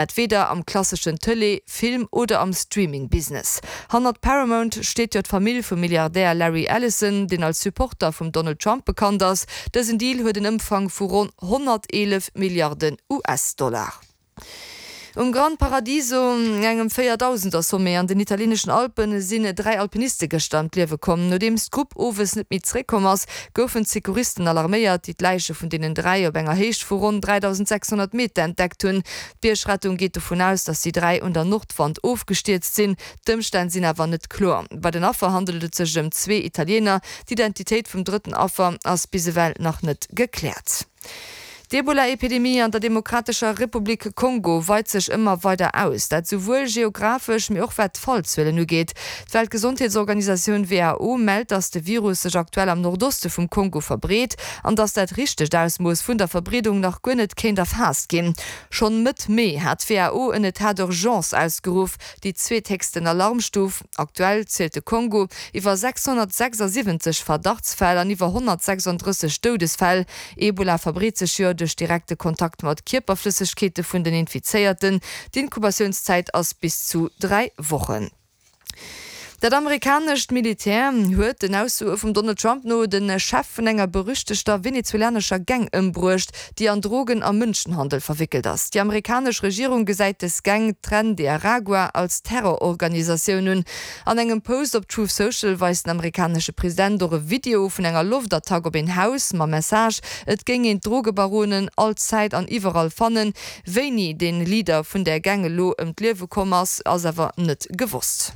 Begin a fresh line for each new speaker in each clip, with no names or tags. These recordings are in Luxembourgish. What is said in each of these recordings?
Dat weder am klasseschen Tëlee-, Film oder am Streaming-Business. Hannert Paramount steet jo d'Famill vum Milliardär Larry Ellison, deen als Supporter vum Donald Trump bekannt ass. Dësen Deal huet en Ëmfang vu ronn 111 Milliarden US-Dollar. Um Gran Paradiso, engem Véierdausender-Sommet an den italieeneschen Alpen, sinn 3 Alpiniste gëschter ëm d'Liewe komm. Nodeems d'Grupp owes net méi zeréckkomm ass, goufen d'Secouristen alarméiert, déi d'Läiche vun deenen 3 op enger Héicht vu ronn 3.600 Meter entdeckt hunn. D'Biergrettung geet dovun aus, datt déi 3 un der Nordwand ofgestierzt sinn. D'Ëmstänn sinn awer net kloer. Bei den Affer handelt et sech ëm zwee Italiener. D'Identitéit vum drëtten Affer ass bis ewell nach net gekläert. D'Ebola-Epidemie an der Demokratescher Republik Kongo weit sech ëmmer weider aus. Dat souwuel geographesch, mee och wat d'Fallzuelen ugeet. D'Weltgesondheetsorganisatioun WHO mellt, datt de Virus sech aktuell am Nordoste vum Kongo verbreet an datt dat richtegt Ausmooss vun der Verbreedung nach guer net kéint erfaasst ginn. Schonn Mëtt Mee hat d'WHO en Etat d'urgence ausgeruff, déi zweethéchsten Alarmstuf. Aktuell zielt de Kongo iwwer 676 Verdachtsfäll an iwwer 136 Doudesfäll. Ebola verbreet sech jo duerch direkte Kontakt mat Kierperflëssegkeete vun den Infizéierten. D'Inkubatiounszäit ass bis zu 3 Wochen. Dat amerikanescht Militär huet, den Aussoe vum Donald Trump no, de Chef vun enger berüchtegter venezuelanescher Gang ëmbruecht, déi an Drogen a Mënschenhandel verwéckelt ass. Déi amerikanesch Regierung gesäit des Gang, Tren de Aragua, als Terrororganisatioun un. An engem Post op Truth Social weist den amerikanesche President och e Video vun enger Loftattack op een Haus mam Message, et géing een d'Drogebaronen all Zäit an iwwerall fannen. Wéini dee Leader vun där Gang elo ëm d'Liewe komm ass, ass awer net gewosst.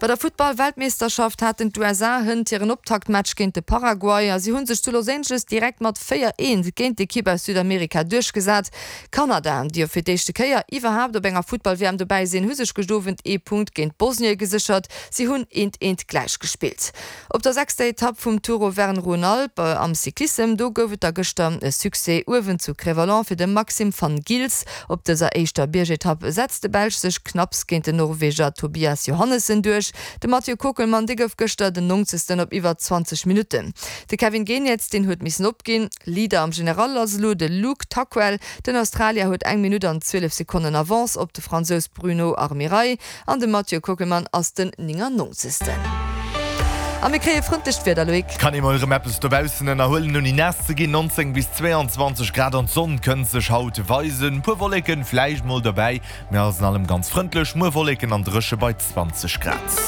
Bei der Futtball-Weltmeeschterschaft haten d'USA hënt hiren Optaktmatch géint de Paraguay a si hu sech zu Los Angeles direkt mat 4, 1 géint d'Ekipp aus Südamerika duerchgesat. Kanada, déi jo fir d'éischte Kéier iwwerhaapt op enger Futtball-WM dobäi sinn, hu sech gëscht Owend ee Punkt géint Bosnie geséchert. Si hunn eent, eent gläichgespillt. Op der sechster Etapp vum Tour Auvergne-Rhône-Alpes am Cyclissem, do gouf et da gëschter e Succès uewen zu Crevallon fir de Maxim Van Gils. Op dëser éischter Biergetapp setzt de Belsch sech knapps géint den Norweger Tobias Johannessen duerch. De Mathieu Kockelmann, dee gouf gëschter den Nonzegsten op iwwer 20 Minutten. De Kevin Geniets, deen huet missen opginn. Leader am General ass elo de Luke Tuckwell. Den Australier huet eng Minutt an 12 Sekonnen Avance op de Fransous Bruno Armirail. An de Mathieu Kockelmann ass den 99. A mir kréie frëndlecht Wieder, Loïc.
Kann ee mol erëm eppes dobaussen ënnerhuelen ouni naass ze ginn. 19 bis 22 Grad an d'Sonn kënnt sech haut weisen. Puer Wolleken vläicht mol dobäi, mee alles an allem ganz frëndlech. Muer Wolleken an dréche bei 20 Grad.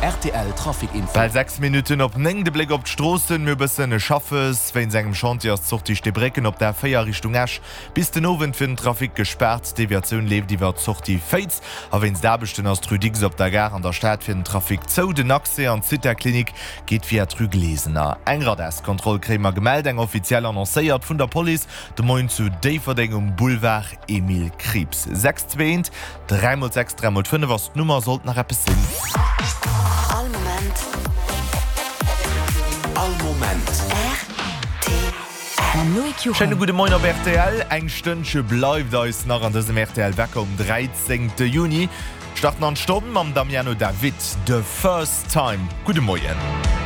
Rtl Trafic Info.
Bal 6 Minutten op 9, de Bléck op d'Stroossen. Mir hu bëssen Schaffes. Wéinst engem Chantier ass d'Sortie Steebrécken op der A4 Richtung Esch Bis den Owend fir den Trafic gespaart. D'Deviatioun leeft iwwer d'Sortie Féiz. A wéinst Aarbechten ass d'Rue Dicks op der Gare an der Stad fir den Trafic zou. Den Accès an d'Zithaklinik geet via d'Rue Glesener. Eng Radarskontroll kréie mer gemellt, eng offiziell annoncéiert vun der Police de Moien zu Déifferdeng um Boulevard Emile Krieps. 6 2 1 3 mol 6 3 mol 5 ass d'Nummer, sollt nach eppes sinn.
All Moment.
All Moment.
Rtl.
Mam Loïc Juchem.
Schéine gudde Moien op rtl. Eng Stënnche bleift eis nach an dësem rtl Wecker um 13 Juni. Starten an d'Stonn mam Damiano David, The First Time. Gudde Moien.